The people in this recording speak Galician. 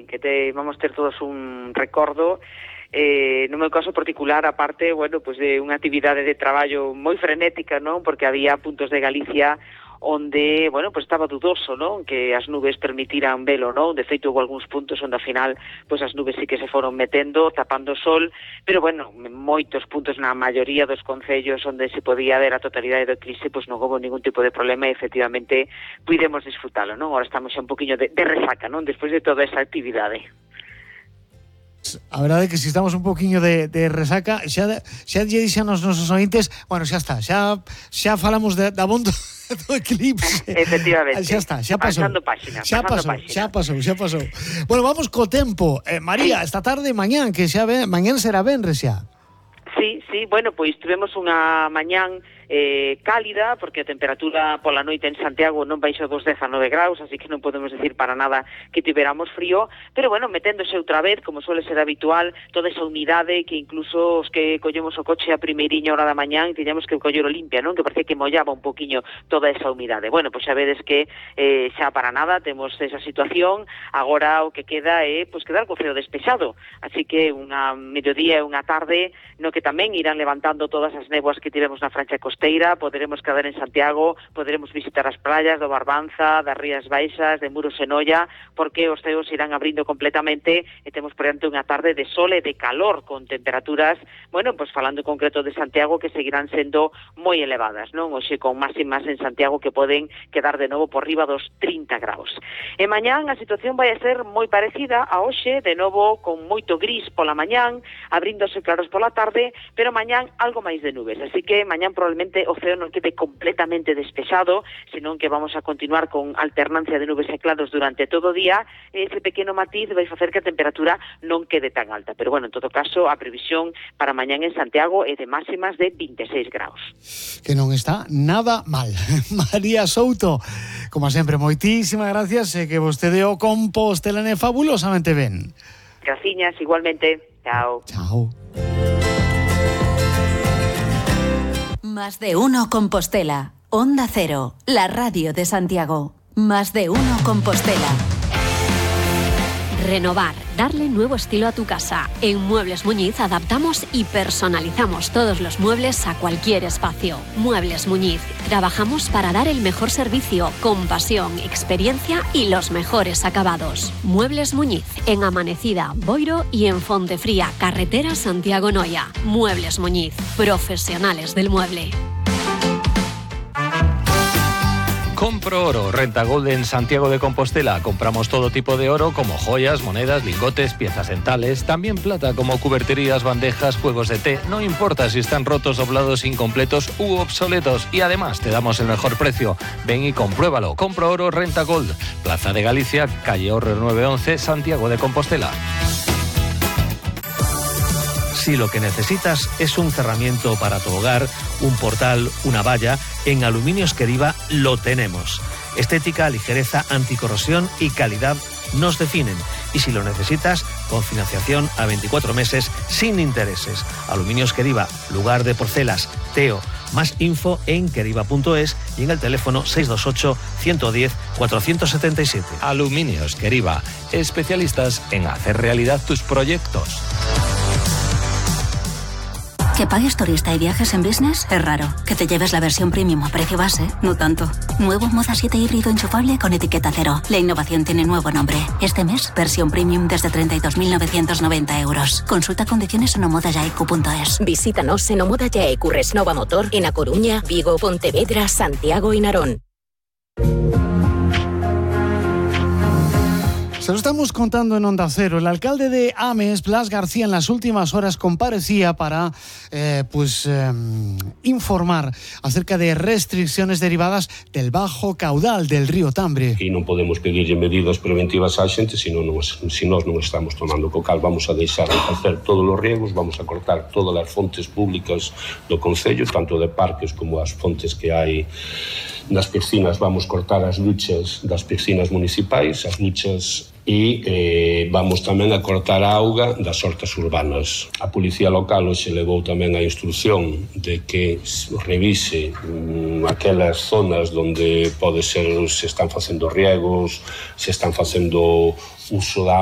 fin, vamos ter todos un recordo. No meu caso particular, aparte, pois de unha actividade de traballo moi frenética, non? Porque había puntos de Galicia onde, pois estaba dudoso, non? Que as nubes permitiran velo, non? De feito, houve algúns puntos onde, ao final, pois as nubes sí que se foron metendo, tapando o sol, pero, moitos puntos na maioría dos concellos onde se podía ver a totalidade do eclipse, pois non houve ningún tipo de problema e, efectivamente, pudemos disfrutalo, non? Ahora estamos xa un poquinho de resaca, non? Despois de toda esa actividade. A verdade é que se estamos un poquinho de resaca, xa lle dixen aos nosos ointes, xa está, xa falamos da abondo do eclipse. Efectivamente. Xa está, xa pasou. Xa pasou. Bueno, vamos co tempo. María, sí. Esta tarde, mañán, que mañán será venres xa. Sí, pois tivemos unha mañán cálida, porque a temperatura pola noite en Santiago non baixou dos 19 graus, así que non podemos decir para nada que tiveramos frío, pero meténdose outra vez, como suele ser habitual, toda esa humidade que incluso os que collemos o coche a primeiriña hora da mañán tiñamos que collero limpia, non? Que parece que mollaba un poquinho toda esa humidade. Pois xa vedes que xa para nada temos esa situación, agora o que queda é quedar co ceo despexado, así que unha mediodía e unha tarde no que tamén irán levantando todas as néboas que tivemos na franxa costeira, poderemos quedar en Santiago, poderemos visitar as praias do Barbanza, das Rías Baixas, de Muros e Noia, porque os ceos irán abrindo completamente e temos por diante unha tarde de sol e de calor, con temperaturas, pois falando en concreto de Santiago, que seguirán sendo moi elevadas, non? Hoxe con máximas en Santiago que poden quedar de novo por riba dos 30 graus. E mañán a situación vai a ser moi parecida a hoxe, de novo con moito gris pola mañán, abríndose claros pola tarde, pero mañán algo máis de nubes, así que mañán probablemente o ceo non quede completamente despexado, senón que vamos a continuar con alternancia de nubes e claros durante todo o día, e ese pequeno matiz vai facer que a temperatura non quede tan alta, pero en todo caso a previsión para mañán en Santiago é de máximas de 26 graus. Que non está nada mal. María Souto, como sempre, moitísimas gracias, e que vostede o compostelane fabulosamente ben. Graciñas, igualmente. Chao. Chao. Más de uno Compostela. Onda Cero, la radio de Santiago. Más de uno Compostela. Renovar, darle nuevo estilo a tu casa. En Muebles Muñiz adaptamos y personalizamos todos los muebles a cualquier espacio. Muebles Muñiz. Trabajamos para dar el mejor servicio, con pasión, experiencia y los mejores acabados. Muebles Muñiz, en Amanecida, Boiro y en Fontefría, carretera Santiago-Noia. Muebles Muñiz, profesionales del mueble. Compro Oro, Renta Gold en Santiago de Compostela. Compramos todo tipo de oro, como joyas, monedas, lingotes, piezas dentales, también plata, como cuberterías, bandejas, juegos de té. No importa si están rotos, doblados, incompletos u obsoletos. Y además te damos el mejor precio. Ven y compruébalo. Compro Oro, Renta Gold. Plaza de Galicia, calle Horrer 911, Santiago de Compostela. Si lo que necesitas es un cerramiento para tu hogar, un portal, una valla, en Aluminios Queriva lo tenemos. Estética, ligereza, anticorrosión y calidad nos definen. Y si lo necesitas, con financiación a 24 meses sin intereses. Aluminios Queriva, lugar de porcelas, Teo. Más info en queriva.es y en el teléfono 628 110 477. Aluminios Queriva, especialistas en hacer realidad tus proyectos. Que pagues turista y viajes en business es raro. Que te lleves la versión premium a precio base, no tanto. Nuevo Moda 7 híbrido enchufable con etiqueta cero. La innovación tiene nuevo nombre. Este mes, versión premium desde 32.990 euros. Consulta condiciones en omodayaicu.es. Visítanos en Omoda Yaicu Resnova Motor en A Coruña, Vigo, Pontevedra, Santiago y Narón. Se lo estamos contando en Onda Cero. El alcalde de Ames, Blas García, en las últimas horas comparecía para informar acerca de restricciones derivadas del bajo caudal del río Tambre. E non podemos pedirlle medidas preventivas á xente se nós non estamos tomando co cal. Vamos a deixar de facer todos os riegos, vamos a cortar todas as fontes públicas do concello, tanto de parques como as fontes que hai nas piscinas. Vamos cortar as duchas das piscinas municipais, as duchas, e vamos tamén a cortar a auga das hortas urbanas. A Policía Local hoxe levou tamén a instrucción de que revise aquelas zonas onde pode ser se están facendo riegos, se están facendo uso da auga